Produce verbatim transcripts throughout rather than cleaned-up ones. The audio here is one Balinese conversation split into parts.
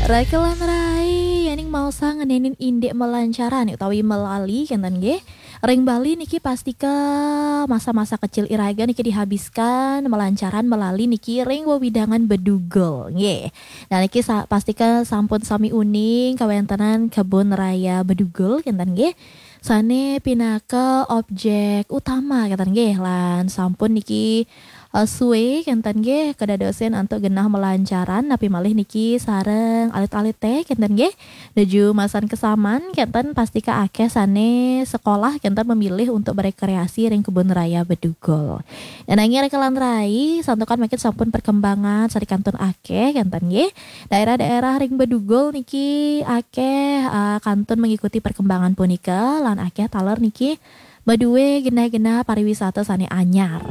Rakelan rai, yaning maosang ngenenin indik melancaran utawi melali kenten nggih. Ring Bali niki pastika masa-masa kecil iraga niki dihabiskan melancaran melali niki ring wewidangan Bedugul nggih. Nah niki sa- pastika sampun sami uning kawentenan kebun raya Bedugul kenten nggih. Sane pinaka objek utama kenten nggih lan sampun niki eh, suwe kenten nggih kedadosin antuk genah melancaran napi malih niki sareng alit-alite kenten nggih. Nuju masan kesaman kenten pastika akeh sane sekolah kenten memilih untuk berekreasi ring kebun raya Bedugul. Nanging Rakelan rai santukan mangkin sampun perkembangan sane kantun akeh kenten nggih. Daerah-daerah ring Bedugul niki akeh eh, kantun mengikuti perkembangan punika lan akeh taler niki madue genah-genah pariwisata sane anyar.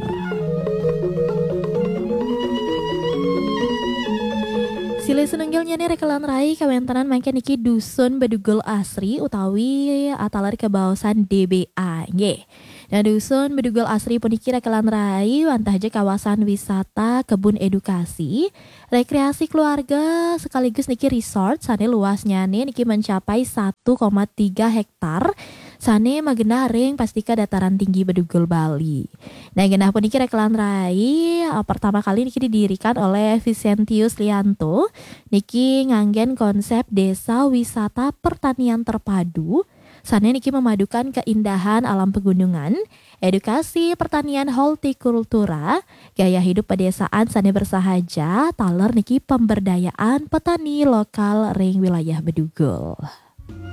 Silih sinunggilnyane Rakelan rai kawentenan mangkin niki Dusun Bedugul Asri utawi ataler kebaosan D B A nggih. Nah, Dusun Bedugul Asri puniki Rakelan rai wantah ja kawasan wisata kebun edukasi, rekreasi keluarga sekaligus niki resort sane luasnyane niki mencapai satu koma tiga hektar sane magenah ring pastika dataran tinggi Bedugul Bali. Nah, genah puniki Rakelan rai eh, pertama kali niki didirikan oleh Vicentius Lianto niki nganggen konsep desa wisata pertanian terpadu sane niki memadukan keindahan alam pegunungan, edukasi pertanian hortikultura, gaya hidup pedesaan sane bersahaja, taler niki pemberdayaan petani lokal ring wilayah Bedugul.